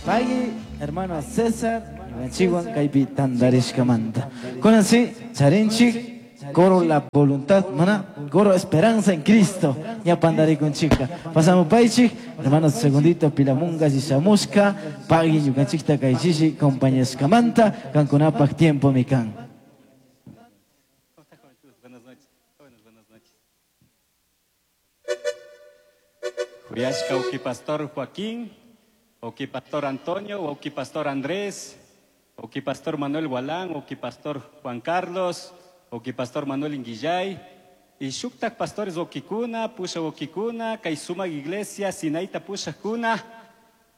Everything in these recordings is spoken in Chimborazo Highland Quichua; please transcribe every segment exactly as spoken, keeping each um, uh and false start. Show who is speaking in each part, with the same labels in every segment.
Speaker 1: Pagui, hermano César, ñukanchikwan kaypi tantarishkamanta. Kunan si, charinchik, coro La Voluntad, mana, coro Esperanza en Cristo, ña pantarikunchika. Pasamos paychik, hermano Segundito Pilamunga, Shishamushka, pagui ñukanchikta kaychishi compañashkamanta, kankunapak tiempo mi kan.
Speaker 2: Buenas noches. Buenas, buenas noches. Juyashka uki pastor Joaquín, uki pastor Antonio, uki pastor Andrés, uki pastor Manuel Gualán, uki pastor Juan Carlos, uki pastor Manuel Inguillay, y shuktak pastores ukikuna, pusha ukikuna, kay sumak iglesia, Sinaita pushakuna,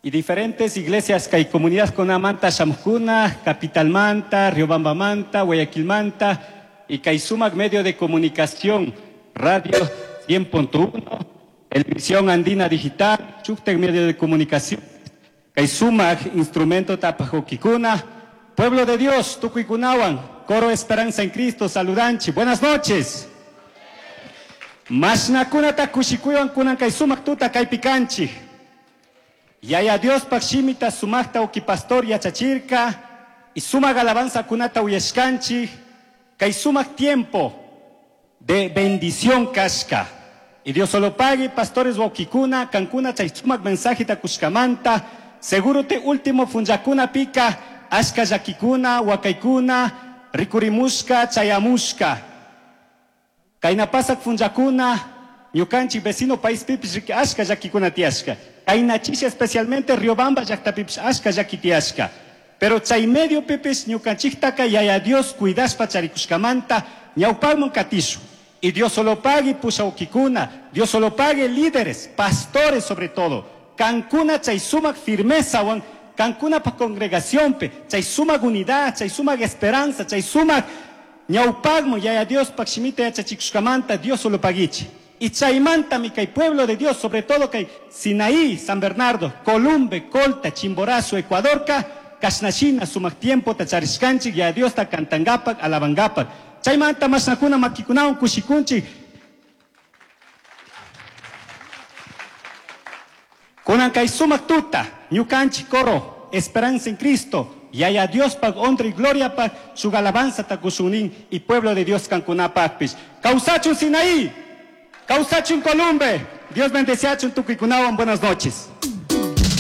Speaker 2: y diferentes iglesias kay comunidad kunamanta shamukuna, Capital Manta, Riobamba Manta, Guayaquil Manta, y kay sumak medio de comunicación, Radio cien punto uno, Televisión Andina Digital, shuktak medio de comunicación, kay sumak instrumento tapajokikuna, pueblo de Dios, tukuykunawan, coro Esperanza en Cristo, saludanchi, buenas noches. Mashnakuna kushikuywan kunan kay sumak tuta kaypi kanchik. Yaya Dios pak shimita sumakta uki pastor yachachirka y sumak alabanza kunata uyashkanchik, kay sumak tiempo de bendición kashka. Y Dios solo pague, pastores waukikuna, kankuna chay sumak mensaje takushkamanta, seguro te último funjakuna pika, ashka llakikuna, wakaykuna, rikurimushka, chayamushka. Kayna pasak funjakuna, ñukanchik vecino país pipis riki ashka llakikuna tiyashka. Kayna chisha especialmente Riobamba llakta pipis ashka llaki tiyashka. Pero chay medio pipis ñukanchiktaka yaya Dios cuidashpa charikushkamanta ñawpakman katishu. Y Dios solo pague pushaukikuna, Dios solo pague líderes, pastores sobre todo. Kankuna chay sumak firmezawan, kankuna pa congregación pe, chay sumak unidad, chay sumak esperanza, chay sumak ñawpakman yaya Dios pak shimita yachachikushkamanta Dios solo paguichi. Y chaymanta mi kay pueblo de Dios, sobre todo kay Sinaí, San Bernardo, Columbe, Colta, Chimborazo, Ecuadorca, kashnashina sumak tiempo tacharishkanchik yaya Dios ta kantangapak, alabangapak. Chaymanta mashnakuna makikunawan kushikunchik. Kunan kay sumak tuta, ñukanchik coro, Esperanza en Cristo, yaya Dios pak honra y gloria pak, shuk alabanza takushunin y pueblo de Dios kankunapakpish. Kawsachun Sinaí, kawsachun Columbe, Dios bendeciachun tukuykunawan, buenas noches.